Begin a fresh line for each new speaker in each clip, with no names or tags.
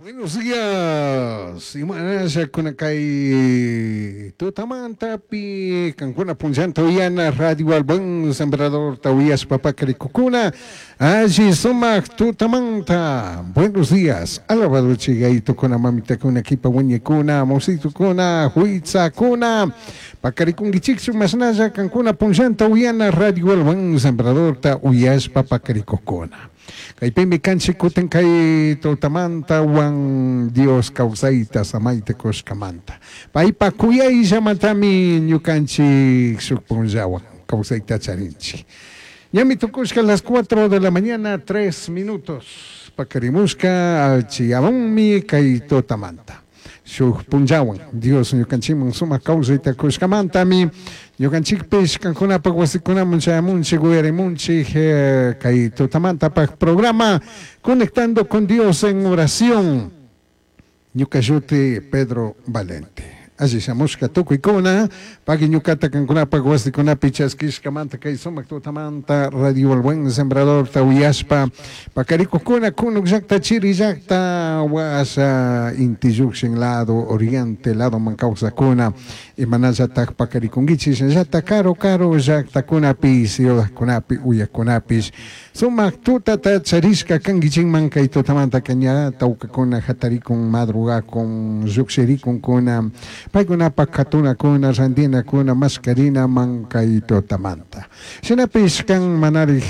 Buenos días, imanasha kuna kay tutamantapi kankuna punllanta uyana Radio El Buen Sembrador ta uyashpa pakarikukuna alli sumak tutamanta. Buenos días, alabado chigaytukuna mamitakuna kipa wiñikuna musitukuna huitzakuna pakarikunkichikchu mashnalla kankuna punllanta uyana Radio El Buen Sembrador ta uyashpa pakarikukuna. Kaypimi kanchik kutin kay tutamanta wan Dios kawsayta samayta kushkamanta. Paypa kuyayllamantami ñukanchik shuk punllawan kawsayta charinchik. Ñami tukushka las 4 de la mañana 3 minutos. Pakarimushka alchiyamunmi kay tutamanta. Shuk punllawan Dios ñukanchikman sumak kawsayta kushkamantami ñukanchikpish kankunapak wasikunaman chayamunchik uyarimunchik kay tutamantapaq programa Conectando con Dios en oración. Ñuka shuti Pedro Valente. Alli shamushka tukuykuna pagui ñukata kankunapak wasikunapi chaskishkamanta kay sumak tutamanta Radio El Buen Sembrador ta uyashpa pakarikukuna kunuk llakta chiri llakta washa inti llukshin lado oriente lado man kawsakuna imanallatak pakarikunkichik shinallata karu karu llaktakunapi ciudadkunapi uyakunapish sumak tutata charishka kankichikman kay tutamanta ña tawkakuna hatarikun madrugakun llukshirikunkuna paykunapak katunakuna rantinakuna maskarinaman kay tutamanta shinapish kan manarik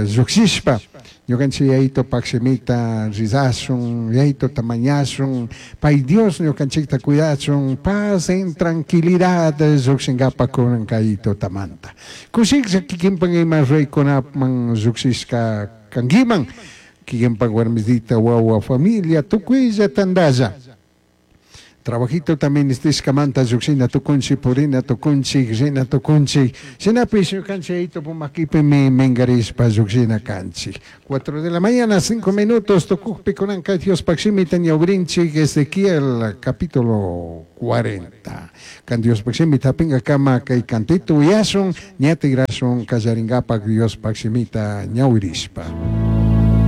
llukshishpa ñukanchik yayitopak shimita rizashun yayitota mañashun pay Dios ñukanchikta cuidachun paz en tranquilidad llukshinkapak kunan kay tutamanta kushiklla kikinpak ima reykunaman llukshishka kankiman kikinpak warmisita wawa familia tukuylla tantalla trabajito también nistishkamanta llukshina tukunchik purina tukunchik rina tukunchik shinapish ñukanchik yayitopak makipimi minkarishpa llukshina kanchik. 4 de la mañana 5 minutos tukukpi kunanka Diospak shimita ñawrinchik Ezequiel capítulo 40 kan Diospak shimita hapinkakama kay cantito uyashun ña tigrashun kallarinkapak Diospak shimita ñawirishpa.